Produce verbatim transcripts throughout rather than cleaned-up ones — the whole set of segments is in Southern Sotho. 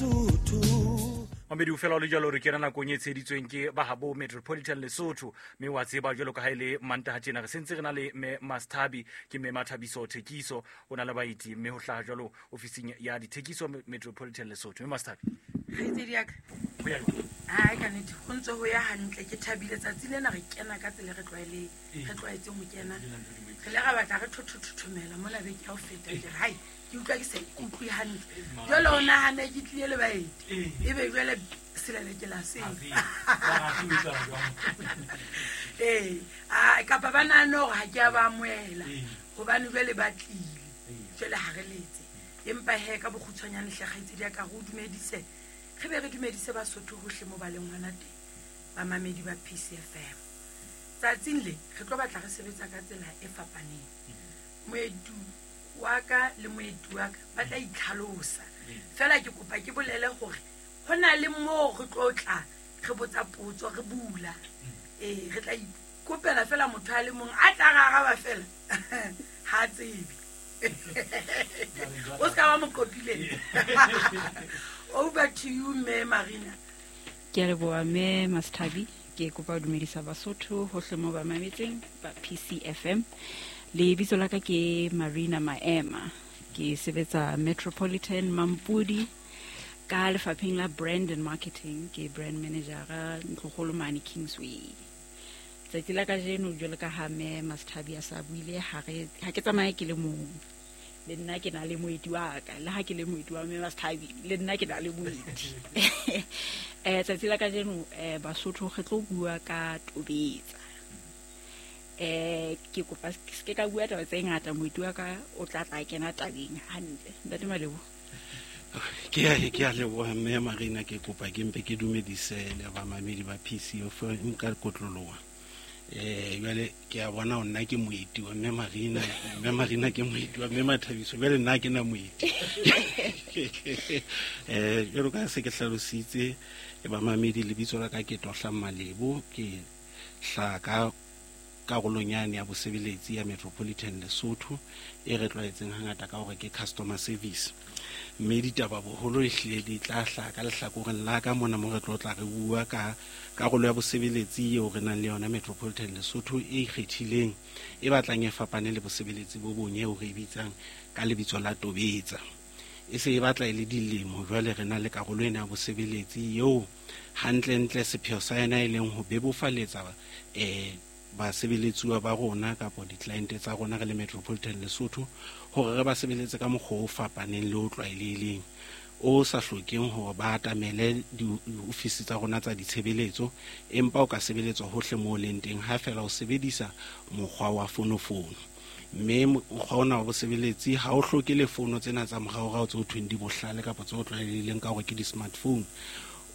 Lesotho. Mamedi o fela o le jalo re kena nakong e tsheditsweng ke bahabo Metropolitan Lesotho, mme wa tseba jwalo ka ha e le Mantaha tjena re sentse re na le mme Masthabi, ke mme Mathabiso Thekiso, o na le baeti mme ho hlaha jwalo ofising ya dithekiso Metropolitan Lesotho. Mme Masthabi, kgaitsedi ya ka, ho ya jwang? Hai, ka nnete ho ntse ho ya hantle, ke thabile. Tsatsi lena re kena ka tsela re tlwaele re tlwaetseng ho kena. Re le ra batla re thothothomela mona beke ya ho feta, ke re hai, ke utlwa ke sa ikutlwe hantle. Jwale o nahane ke tlile le baeti, ebe jwale selelekela seng. Ee, kapa ba nahane hore ha ke a ba amohela hobane jwale ba tlile, jwale ha re letse. Empa he, ka bokgutshwanyane hle kgaitsedi ya ka, re o dumedise, re be re dumedise Basotho hohle mo ba leng hona teng, bamamedi ba P C F M. Tsatsing le re tlo batla re sebetsa ka tsela e fapaneng. Moetu wa ka le moeti wa ka ba tla itlhalosa. Feela ke kopa ke bolele hore ho na le moo re tlo tla re botsa potso, re bula. Ee, re tla ikopela feela motho a le mong a tla re araba feela. Ha tsebe. O ska ba mo qopile. Over to you, Mme Marina. Ke a leboha, Mme Masthabi. Ke kopa ho dumedisa Basotho hohle moo ba mametseng ba P C F M. Lebitso la ka ke Marina Maema. Ke sebetsa Metropolitan Mampudi ka lefapheng la brand and marketing. Ke brand manager ntlokgolo mane Kingsway. Tsatsi la kajeno jwalo ka ha Mme Masthabi a sa buile, ha re ha ke tsamaye ke le mong. Le nna ke na le moeti wa ka, le ha ke le moeti wa Mme Masthabi, le nna ke na le moeti. Eh, tsatsi la kajeno, eh, Basotho re tlo bua ka tobetsa. Eh, ke kopa se ke ka bua taba tse ngata, moeti wa ka o tla tla kena tabeng hantle. Ntate Malebo. Ke a, ke a leboha Mme Marina, ke kopa ke mpe ke dumedise le bamamedi ba P C F M ka kotloloha. Eh, jwale ke a bona hore nna ke moeti wa Mme Marina, Mme Marina ke moeti wa Mme Mathabiso, jwale nna ke na moeti. Eh, jwalo ka se ke hlalositse bamamedi, lebitso la ka ke Tohla Malebo, ke hlaha ka karolong yane ya bosebeletsi ya Metropolitan Lesotho e re tlwaetseng hangata ka hore ke customer service. Mme ditaba boholo ehlile di tla hlaha ka lehlakoreng la ka mona mo re tlo tla re bua ka karolo ya bosebeletsi eo re nang le yona Metropolitan Lesotho e ikgethileng, e batlang e fapane le bosebeletsi bo bong eo re e bitsang ka lebitso la Tobetsa. E se e batla e le dilemo jwale re na le karolo ena ya bosebeletsi eo hantlentle sepheo sa yona e leng ho bebofaletsa, eh, basebeletsuwa ba rona kapa di-client tsa rona re le Metropolitan Lesotho hore re ba sebeletse ka mokgwa o fapaneng le o tlwaelehileng, o sa hlokeng hore ba atamele diofisi tsa rona tsa ditshebeletso, empa o ka sebeletswa hohle moo o leng teng ha feela o sebedisa mokgwa wa fonofono. Mme mokgwa ona wa bosebeletsi ha o hloke le fono tsena tsa moraorao tse ho thweng di bohlale kapa tse o tlwaelehileng ka hore ke di-smartphone.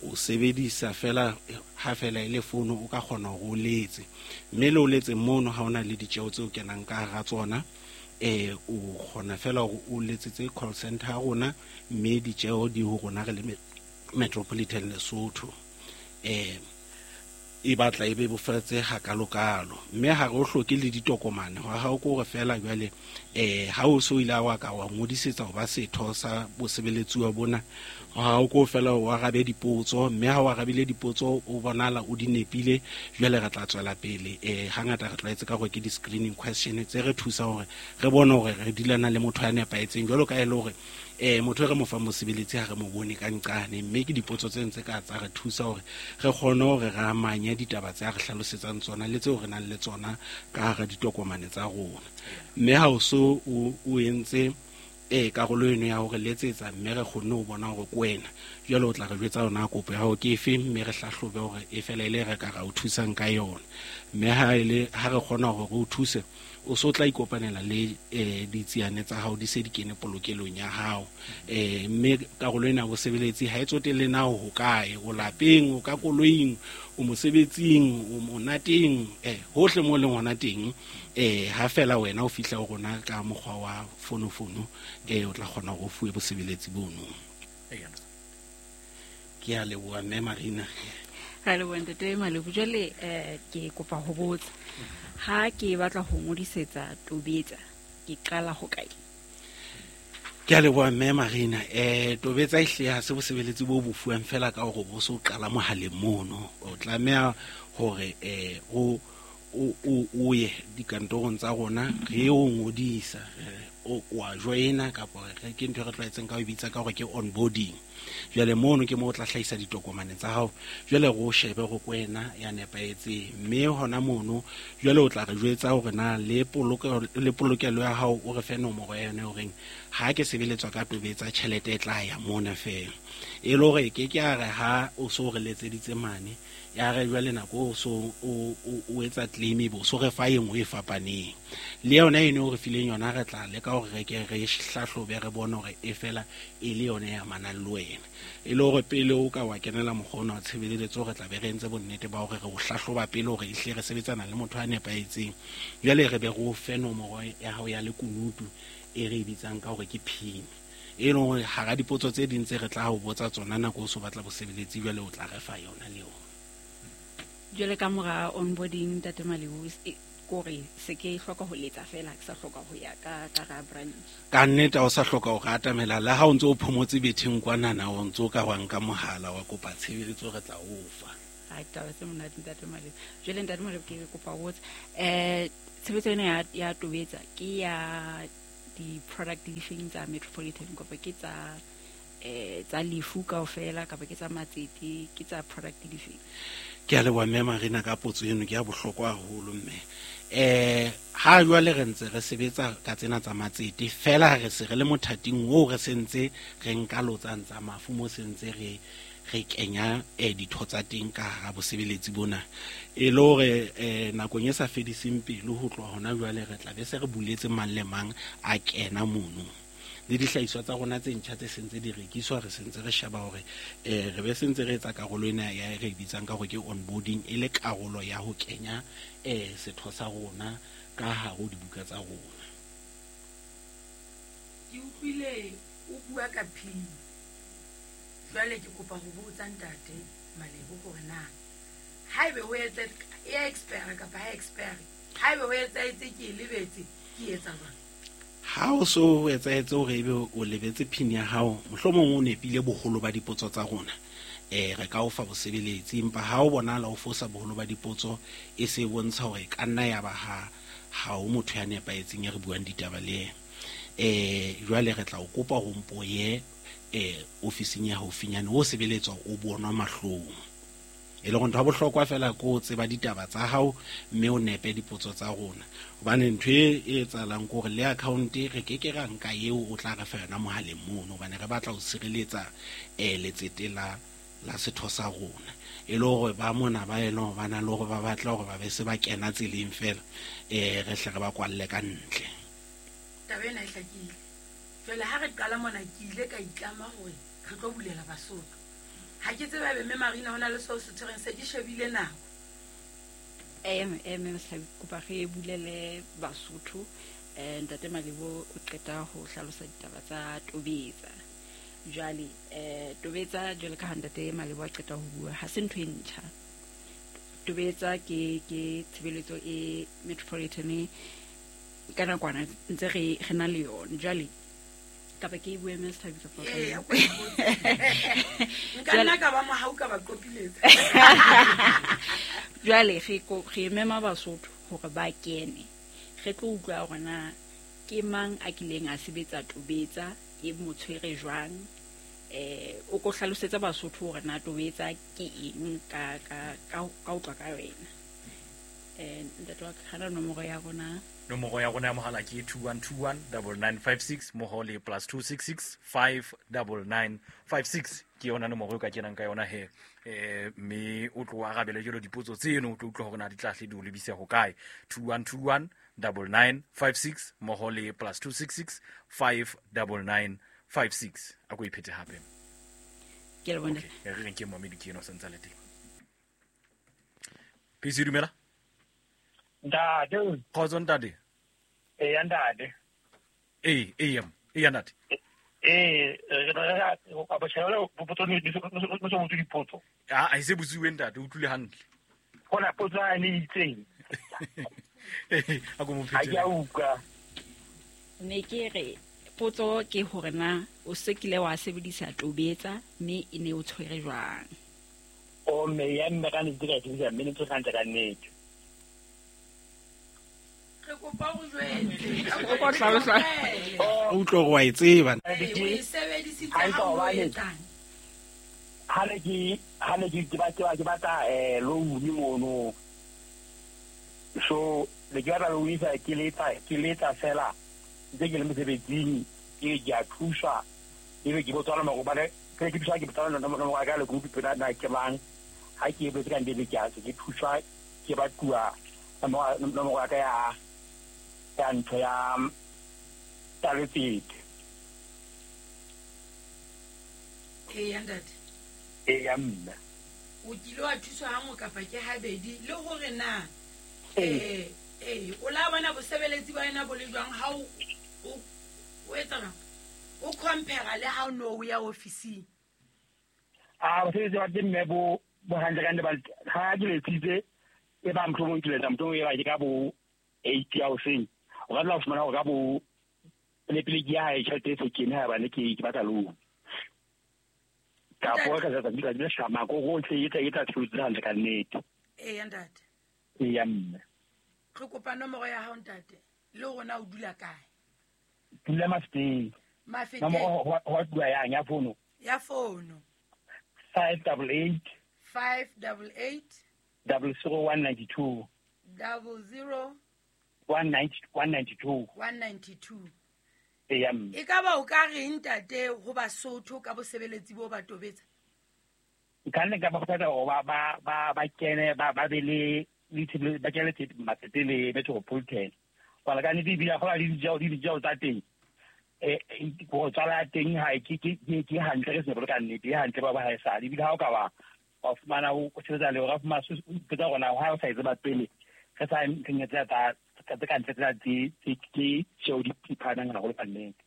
O sebedisa fela ha fela e le fono o ka kgona hore o letse, mme le o letse mono ha ona le ditjeho tse o kenang ka hara tsona. Eh, o kgona fela hore o letsetse call center ya rona, mme ditjeho di ho rona re le Metropolitan Lesotho. Eh, e batla e bebofatse hakalokalo, mme ha re o hloke le ditokomane. Hwa hao ke hore fela jwale, eh, ha o so ile wa ka wa ngodisetsa ho ba setho sa bosebeletsuwa bona, hwa hao ke ho fela o arabe dipotso, mme ha o arabile dipotso o bonala o di nepile, jwale re tla tswela pele. Eh, hangata re tlwaetse ka hore ke di-screening question tse re thusa hore re bone hore re dilana le motho ya nepahetseng, jwalo ka e le hore, eh, motho e re mo fang mosebeletsi ha re mo bone ka nqane, mme ke dipotso tse ntse ka tsa re thusa hore re kgone hore re amanye ditaba tse a re hlalosetsang tsona le tseo re nang le tsona ka hara ditokomane tsa rona. Mme ha o so o, o entse, eh, karolo eno ya hore letsetsa, mme re kgonne ho bona hore ke wena, jwale o tla re jwetsa yona kopo ya hao ke efe, mme re hlahlobe hore e fela e le re ka ra o thusang ka yona. Mme ha e le, ha re kgona hore re o thuse, o so tla ikopanela le, eh, ditsiane tsa hao di se di kene polokelong ya hao. Eh, mme karolo ena ya bosebeletsi ha e tsotelle na o hokae, o lapeng, o ka koloing, o mosebetsing, o monateng, eh, hohle mo leng hona teng, eh, ha fela wena o fihla ho rona ka mokgwa wa fonofono, eh, o tla kgona hore o fuwe bosebeletsi bono. Ke a leboha Mme Marina. Ra leboha Ntate Malebo. Jwale, eh, ke kopa ho botsa, ha ke batla ho ngodisetsa Tobetsa, ke qala ho kae? Ke a leboha mme Marina. Eh Tobetsa ehle ha se bosebeletsi bo bo fuwang fela ka hore bo so qala mohaleng mono. O tlameha hore eh o o o ye dikantorong tsa rona re o ngodisa, o wa joina kapa re ke ntho e re tlwaetseng ka ho bitsa ka hore ke onboarding. Jwale mono ke mo o tla hlahisa ditokomane tsa hao, jwale re o shebe hore ke wena ya nepahetseng, mme hona mono jwale o tla re jwetsa hore na le polokelo le polokelo ya hao o re fe nomoro ya yona horeng ha ke sebeletswa ka Tobetsa tjhelete e tla ya mona fela. E le hore ke ke a re ha o so re letseditse mane ya re jwale nako o so o o etsa claim e bo so re fa e nngwe e fapaneng le yona eno o re fileng yona, re tla leka hore re ke re hlahlobe re bone hore e fela e le yona e amanang le wena, e le hore pele o ka wa kenela mokgwa ona wa tshebeletso re tla be re entse bonnete ba hore re o hlahloba pele hore ehle re sebetsana le motho a nepahetseng. Jwale re be re o fe nomoro ya hao ya lekunutu e re e bitsang ka hore ke PIN, e leng hore hara dipotso tse ding tse re tla ho botsa tsona nako o so batla bosebeletsi jwale o tla re fa yona le yona. Jwale ka mora onboarding ntate Malebo, kore se ke hloka ho letsa fela, ke sa hloka ho ya ka ka ra branch. Ka nnete o sa hloka ho atamela le ha o ntse o phomotse betheng kwanana o ntse o ka wa nka mohala wa kopa tshebeletso re tla o fa. Ai taba tse monate ntate Malebo. Jwale ntate Malebo ke kopa ho botsa eh tshebetso ena ya ya Tobetsa ke ya di-product difeng tsa Metropolitan kapa ke tsa eh tsa lefu kaofela kapa ke tsa matsete, ke tsa product difeng? Ke a leboha mme Marina ka potso eno, ke ya bohlokwa haholo mme. Eh ha jwale re ntse re sebetsa ka tsena tsa matsete fela re se re le mothating oo re sentse re nka lotsang tsa mafu mo sentse re re kenya eh ditho tsa teng ka hara bosebeletsi bona, e le hore eh nakong e sa fediseng pelo ho tloha hona jwale re tla be se re buletse mang le mang a kena mono. Le dihlahiswa tsa rona tse ntjha tse sentse di rekiswa re sentse re sheba hore eh re be sentse re etsa karolo ena ya re bitsang ka hore ke onboarding, e le karolo ya ho kenya eh setho sa rona ka hare ho dibuka tsa rona. Ke utlwile o bua ka PIN. Jwale ke kopa ho botsa ntate Malebo hore na haebe ho etsa e expire kapa ha expire, haebe ho etsahetse ke e lebetse ke etsa jwang? Ha o so o etsahetse hore ebe o lebetse PIN ya hao, mohlomong o nepile boholo ba dipotso tsa rona, eh re ka o fa bosebeletsi, empa ha o bonahala o fosa boholo ba dipotso e se bontsha hore ka nna ya ba ha ha o motho ya nepahetseng e re buang ditaba le yena. Eh jwale re tla o kopa ho mpo ye eh ofising ya haufinyane o sebeletswa o bonwa mahlong, e le hore ntho ya bohlokwa fela ke o tseba ditaba tsa hao mme o nepe dipotso tsa rona, hobane ntho e etsahalang ke hore le account re ke ke ra nka eo o tla re fa yona mohaleng mono, hobane re batla ho sireletsa eh letsete la la setho sa rona, e le hore ba mona ba e leng hore ba na le hore ba batla hore ba be se ba kena tseleng fela eh re hle re ba kwalle ka ntle. Taba ena e hlakile. Jwale ha re qala mona ke ile ka itlama hore re tlo bulela Basotho. Ha ke tsebe ebe mme Marina ho na le seo se tshwereng, se ke shebile nako. Eh eh mme Mohlabi, kopa re bulele Basotho. Eh ntate Malebo o qeta ho hlalosa ditaba tsa Tobetsa. Jwale eh Tobetsa jwale ka ha ntate Malebo a qeta ho bua, ha se ntho e ntjha. Tobetsa ke ke tshebeletso e Metropolitan ka nakwana ntse re re na le yona. Jwale kapa ke e bue mme Sethabi kapa Ee, nka nna ka ba mohau ka ba qopiletsa. Jwale re ko re mema Basotho hore ba kene, re tlo utlwa hore na ke mang a kileng a sebetsa Tobetsa, e mo tshwere jwang, eh o ko hlalosetsa Basotho hore na Tobetsa ke eng ka ka ka ka utlwa ka wena. Eh ntate wa ka, hana nomoro ya rona. Nomoro ya rona ya mohala ke two one two one double nine five six mmoho le plus two six six five double nine five six ke yona nomoro e ka kenang ka yona he. Eh mme o tlo arabele jalo dipotso tseno, o tlo utlwa hore na di tla hle di o lebise ho kae. two one two one double nine five six mmoho le plus two six six five double nine five six. A ko iphete hape. Ke a leboha. Okay, re reng ke momedi ke eno sentse le teng. P C dumela. Ntate. Kgotso ntate. Eya ntate. Ee, ee, eya ntate. Ee, re re ba tshela potso ne no so botse dipotso. Ah, a se botsiwe ntate, o utlwile hantle. Gona potso a ne itseng. A go mo Ha ke a utlwa. Ne ke re Potso ke hore na o se kile wa sebedisa Tobetsa mme e ne o tshwere jwang? O mme ya mme ka nnete ka e sebedisa mme ne tse hantle ka nnete. Re kopa o jwetse. O ko hlalosa. O utlwe hore wa e tseba. O e sebedisitse ha o etsang? Ha ne ke ha ne ke ke batla ke batla eh loan mono. So le ke batla loan fa ke letsa ke letsa fela ntse ke le mosebetsing ke ke a thuswa ebe ke botswana mo gobane ke ke thuswa ke botswana no no ka le group pela na ke bang ha ke botse ka ndebe ke a ke thuswa ke ba tua no no mo ka ya ya ntho ya taletsete e ya ntate e ya mme o kile wa thuswa hangwe kapa ke habedi le hore na eh eh o la bona bosebeletsi ba yena bo le jwang ha o o etsa jwang o compare le ha o no o ya ofising? A bosebeletsi ba teng mme bo bo hantle ka nne ba ha ke letsitse e ba mohlomong ke letsa mohlomong e ba ke ka bo eight ya hoseng o ka tla fumana hore ka bo pele pele ke ya hae tjhelete e se kene ha bane ke ke batla loan ka po ka tsa di le shama go gotle e tla e tla tshwere hantle ka nnete. Eh ntate e ya mme re kopa nomoro ya hao ntate le rona o dula kae? Dula Mafeteng. Mafeteng. Nomoro ho dula yang ya fono? Ya fono. five double eight five double eight double zero one ninety two double zero one ninety one ninety two one ninety two. E ya mme. E ka ba o ka reng ntate ho Basotho ka bosebeletsi bo ba Tobetsa? Nka nne ka ba kgothatsa hore ba ba ba ba kene ba ba be le le ba kene matsete le Metropolitan. Hobane ka nnete ebile ha le dijao di dijao tsa teng eh go tswala teng ha ke ke ke hantle re se bolo ka nnete e hantle ba ba ha e sale ebile ha o ka ba wa fumana o sebetsa le hore fumana o tsa rona ha o sa e tseba pele re sa ntleng tsa tsa tsa ka ntle tsa tse ke tšeo di phanang haholo ka nnete.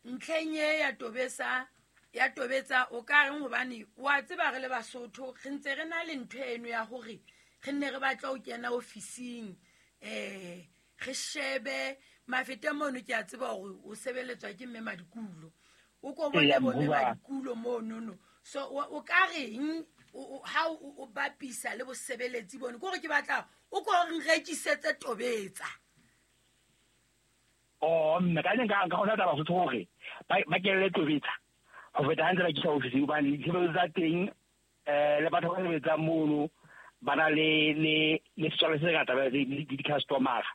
Ntlheng e ya Tobetsa ya Tobetsa o ka reng hobane wa tseba re le Basotho re ntse re na le ntho eno ya hore re nne re batla ho kena ofising eh re shebe Mafete mono ke a tseba hore o sebeletswa ke mme Madikulo o ko bone bo mme Madikulo mono no so o ka reng ha o bapisa le bosebeletsi bone ke hore ke batla o ko re rekisetse Tobetsa? Oh mme ka nka nka hona taba Basotho hore ba ba kelle Tobetsa ho feta hantle ba kisa ofising hobane ditshebeletso tsa teng eh le batho ba sebetsang mono ba na le le le setswalle se ngata ba le di-customer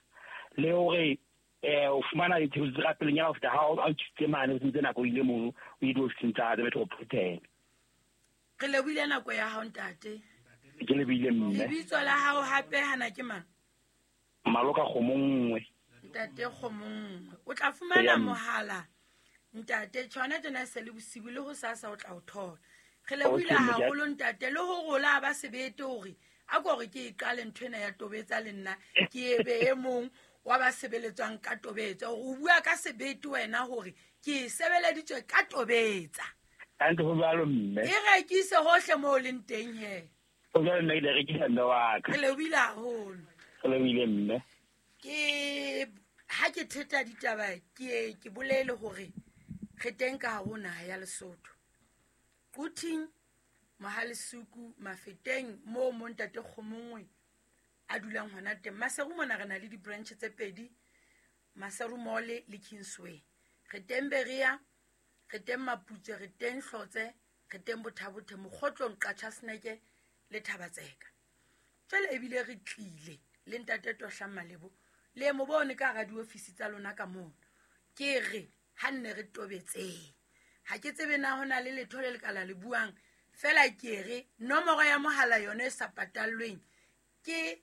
le hore eh o fumana ditshebeletso tsa pelenyana ho feta ha o tsitse mane o tsitse nako ile mono o ile ofising tsa Metropolitan. Re lebohile nako ya hao ntate. Ke lebohile mme. Lebitso la hao hape hana ke mang? Maloka Kgomongwe. Ntate Kgomongwe. O tla fumana mohala ntate tshwana tjena se le bosibu le ho sasa o tla o thola. Re lebohile haholo ntate le ho rola ba sebete hore a ko re ke e qale ntho ena ya Tobetsa le nna ke ebe e mong wa ba sebeletswang ka Tobetsa. O bua ka sebete wena hore ke sebeleditswe ka Tobetsa. Hantle ho jwalo mme. E rekise hohle moo leng teng he. Ho jwalo mme ke rekisa mme wa ka. Re lebohile haholo. Re lebohile mme. Ke ha ke theta ditaba ke ke bolele hore re teng ka hare ho naha ya Lesotho. Quthing, Mohalesuku, Mafeteng moo mo ntate Kgomongwe a dulang hona teng. Maseru mona re na le di-branch tse pedi, Maseru Mall le Kingsway. Re teng Berea, re teng Maputse, re teng Hlotse, re teng Bothabothe, Mokgotlong, Qachaseneke le Thabatseka. Jwale ebile re tlile le ntate Tohlang Malebo le mo bone ka hara diofisi tsa lona ka mono. Ke re ha nne re tobetseng. Ha ke tsebe na hona le letho le lekala le buang fela ke re nomoro ya mohala yona e sa patallweng ke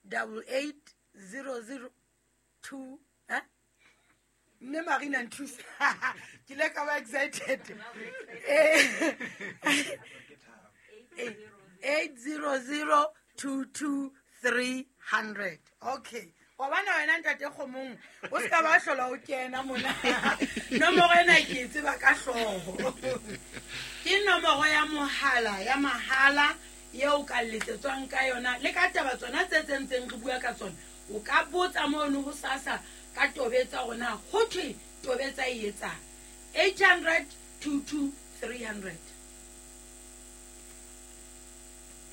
double eight zero zero two eh mme Marina nthusa ke le ka ba excited eight zero zero two two three hundred. Okay, wa bona wena ntate Kgomong o ska ba hlola o kena mona nomoro ena ke e tseba ka hlooho. Ke nomoro ya mohala ya mahala eo ka letsetswang ka yona le ka taba tsona tse tsentseng re bua ka tsona. O ka botsa mono ho sasa ka tobetsa hore na ho thwe tobetsa e etsang. eight hundred twenty-two three hundred.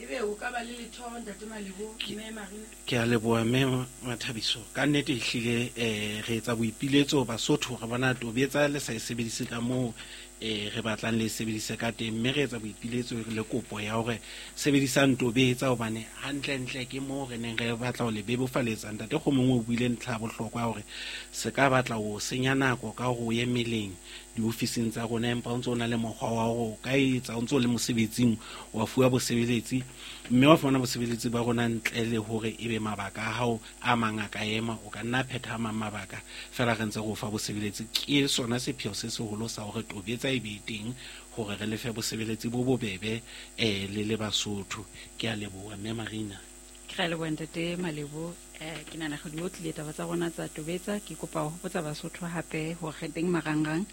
Ebe o ka ba le letho ntate Malebo mme Marina? Ke a leboha mme Mathabiso. Ka nnete ehlile eh re etsa boipiletso Basotho re bona tobetsa le sa e sebedise ka moo eh re batlang le sebedise ka teng, mme re etsa boipiletso le kopo ya hore sebedisang tobetsa hobane hantlentle ke moo re neng re batla ho le bebofaletsa. Ntate Kgomongwe o buile ntlha ya bohlokwa hore se ka batla ho senya nako ka hore o ye meleng diofising tsa rona, empa o ntso o na le mokgwa wa hore o ka etsa o ntso o le mosebetsing wa fuwa bosebeletsi, mme wa fumana bosebeletsi ba rona ntle le hore ebe mabaka a hao a mang a ka ema, o ka nna phetha a mang mabaka fela re ntse re o fa bosebeletsi. Ke sona sepheo se seholo sa hore tobetsa e be teng hore re lefe bosebeletsi bo bobebe eh le le Basotho. Ke a leboha mme Marina. Ke a leboha ntate Malebo. Eh ke nahana re di otlile taba tsa rona tsa tobetsa. Ke kopa ho hopotsa Basotho hape hore re teng marangrang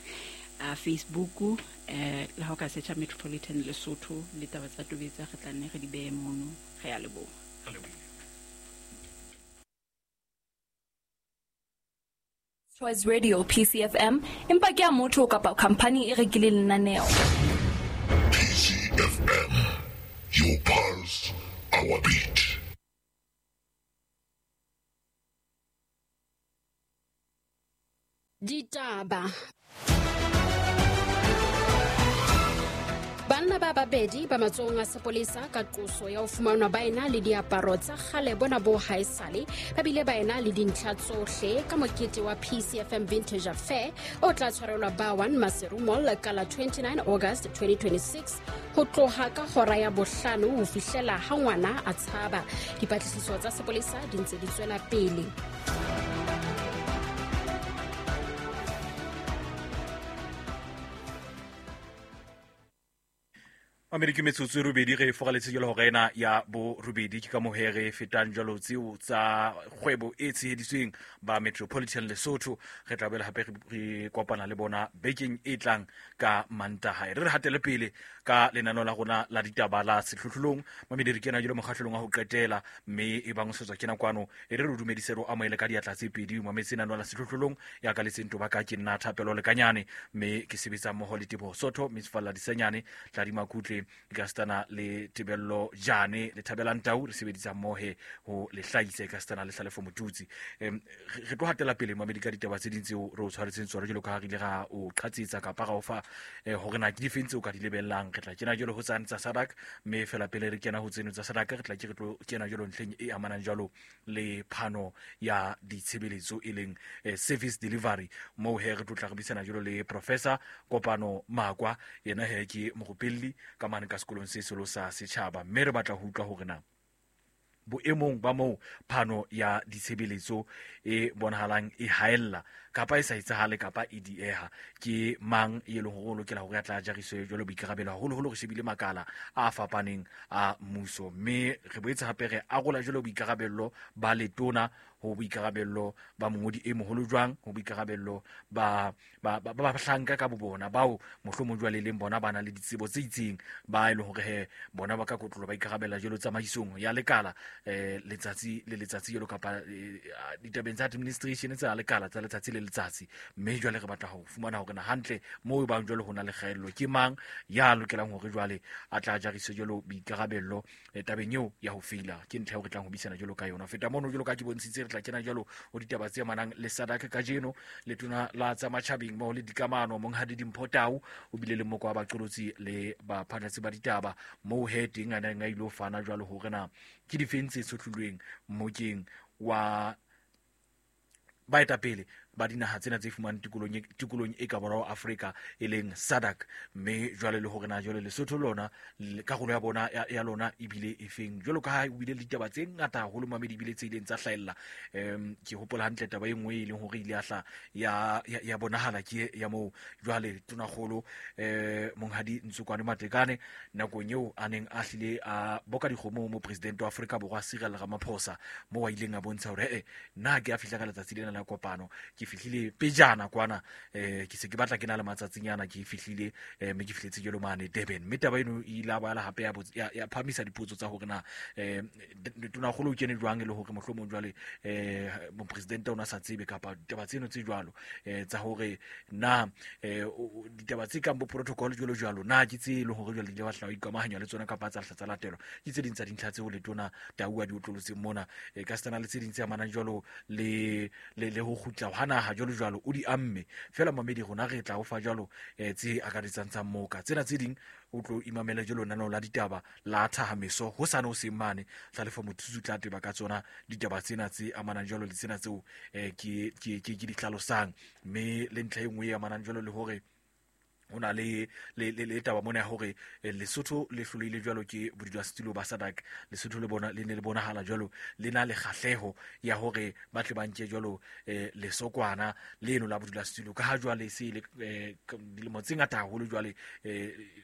a Facebook, eh le ha o ka searcha Metropolitan Lesotho le taba tsa tobetsa re tla nne re di behe mono. Re a leboha. Choice Radio P C F M empa ke a motho kapa company e rekileng lenaneo. P C F M, your pulse, our beat. Ditaba. Banna ba babedi ba matsohong a sepolesa ka qoso ya ho fumanwa ba ena le diaparo tsa kgale bona bo haesale, ba bile ba ena le dintlha tsohle ka mokete wa P C F M Vintage Affair o tla tshwarelwa Bawan Maseru Mall ka la twenty-nine August twenty twenty-six ho tloha ka hora ya bohlano ho fihlela ha ngwana a tshaba. Dipatlisiso tsa sepolesa di ntse di tswela pele. Mamedi ke metsotso e robedi re fogaletse jalo hora ena ya borobedi. Ke ka moo he re fetang jalo tseo tsa kgwebo e tsheheditsweng ba Metropolitan Lesotho. Re tla boela hape re kopana le bona bekeng e tlang ka Mantaha. Re re hatele pele ka lenaneo la rona la ditaba la sehlohlolong. Mamedi re kena jalo mokgahlelong wa ho qetela, mme e bang o setswa kena kwano e re re dumedise re o amohele ka diatla tse pedi. Mametse lenaneo la sehlohlolong ya ka letseng toba ka ke nna Thapelo Lekanyane, mme ke sebetsa mmoho le Teboho Sotho, Miss Falla Disenyane, Tladi Makutle, Kastana le Tebello Jane le Thabelang Tau. Re sebedisa mmohe ho le hlahise Kastana le Hlalefo Motutsi. Em re tlo hatela pele mamedi ka ditaba tse ding tseo re o tshwaretseng tsona jwalo ka ha re ile ra o qhatsetsa kapa ra o fa hore na ke difeng tseo ka di lebellang. Re tla kena jwalo ho tsane tsa SADC, mme fela pele re kena ho tseno tsa SADC re tla ke re tlo kena jwalo ntlheng e amanang jwalo le phano ya ditshebeletso e leng service delivery, moo he re tlo tla re buisana jwalo le Professor Kopano Makwa, yena he ke morupelli ka mane ka sekolong se seholo sa setjhaba, mme re batla ho utlwa hore na boemong ba moo phano ya ditshebeletso e bonahalang e haella kapa e sa etsahale kapa e dieha, ke mang e leng hore o lokela hore a tla jariswe jwalo boikarabelo, haholoholo re shebile makala a fapaneng a mmuso. Mme re boetse hape re arola jwalo boikarabello ba letona ho boikarabello ba mongodi e moholo jwang, ho boikarabello ba ba ba bahlanka ka bobona bao mohlomong jwale leng bona ba na le ditsebo tse itseng ba e leng hore he bona ba ka kotlolo ba ikarabella jwalo tsamaisong ya lekala eh letsatsi le letsatsi jwalo kapa ditabeng tsa administration tsa lekala tsa letsatsi le letsatsi. Mme jwale re batla ho fumana hore na hantle moo ba jwalo ho na le kgaello, ke mang ya lokelang hore jwale a tla jariswe jwalo boikarabello tabeng eo ya ho feila. Ke ntlha eo re tlang ho buisana jwalo ka yona. Feta mono jwalo ka ke bontshitse, re tla kena jwalo ho ditaba tse amanang le SADC kajeno. Letona la tsa matjhabeng mmoho le dikamano Monghadi Dimpho Tau o bile le moko wa baqolotsi le baphatlatsi ba ditaba moo he teng a neng a ilo fana jwalo hore na ke difeng tse tshohlilweng mmokeng wa baetapele ba dinaha tsena tse fumanang tikolong tikolong e ka borwa Afrika e leng SADC, mme jwale le hore na jwale Lesotho lona karolo ya bona ya lona ebile e feng. Jwalo ka ha o bile le ditaba tse ngata haholo mamedi ebile tse ileng tsa hlahella. Em ke hopola hantle taba e nngwe e leng hore ile ya hla ya ya bonahala ke ya moo jwale tonakgolo eh Monghadi Ntsokwane Matekane nakong eo a neng a hlile a boka dikgomo mo president wa Afrika Borwa Cyril Ramaphosa, moo a ileng a bontsha hore eh nna ke a fihla ka letsatsi lena la kopano ke fihlile pejana kwana eh ke se ke batla ke na le matsatsinyana ke fihlile eh mme ke fihletse jalo mane Durban mme taba eno e ile ya bala hape ya ya, ya phamisa dipotso tsa hore na eh tonakgolo o kene jwang e le hore mohlomong jwale eh mopresidente o na sa tsebe kapa ditaba tseno tse jwalo eh tsa hore na eh ditaba tse kang bo protocol jwalo jwalo na ke tse le hore jwale di batla ho ikamahanya le tsona kapa tsa tsa latelwa ke tse ding tsa dintlha tseo le tona Tau a di otlolotseng mona e ka stana le tse ding tse amanang jwalo le le le ho kgutla ha naha jwalo jwalo o di amme fela mamedi rona re tla o fa jwalo eh tse akaretsang tsa moka tsena tse ding o tlo imamela jwalo nano la ditaba la thahameso ho sane o seng mane tla lefa mothusu tla teba ka tsona ditaba tsena tse amanang jwalo le tsena tseo eh ke ke ke di hlalosang mme le ntlha e nngwe e amanang jwalo le hore ona le le le taba mona hore Lesotho le hloleile jwalo ke bodulasetulo ba SADC Lesotho le bona le ne le bonahala jwalo le na le kgahleho ya hore ba tle ba nke jwalo lesokwana leno la bodulasetulo ka ha jwale se le dilemo tse ngata haholo jwale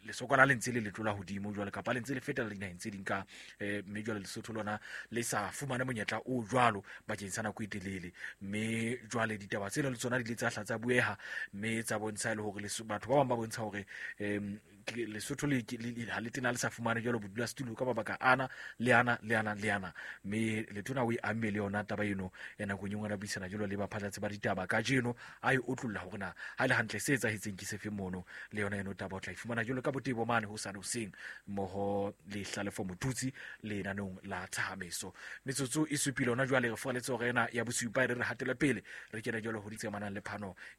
lesokwana le ntse le letlola hodimo jwale kapa le ntse le fetela dinaheng tse ding ka mme jwale Lesotho lona le sa fumane monyetla o jwalo bakeng sa nako e telele mme jwale ditaba tsena le tsona di le tsa hla tsa bueha mme tsa bontsha le hore batho ba bang ba bontsha hore em Lesotho le ha le tena le sa fumane jwalo bodulasetulo ka mabaka ana le ana le ana le ana mme letona o e amme le yona taba eno ya nakong e nngwe ra buisana jwalo le baphatlatsi ba ditaba kajeno a e otlolla hore na ha le hantle se etsahetseng ke sefe mono le yona eno taba o tla e fumana jwalo ka botebo mane ho sane hoseng mmoho le Hlalefo Motutsi lenanong la thahameso metsotso e supile hona jwale re furaletse hore ena ya bosupa e re re hatele pele re kena jwalo ho ditse amanang le phano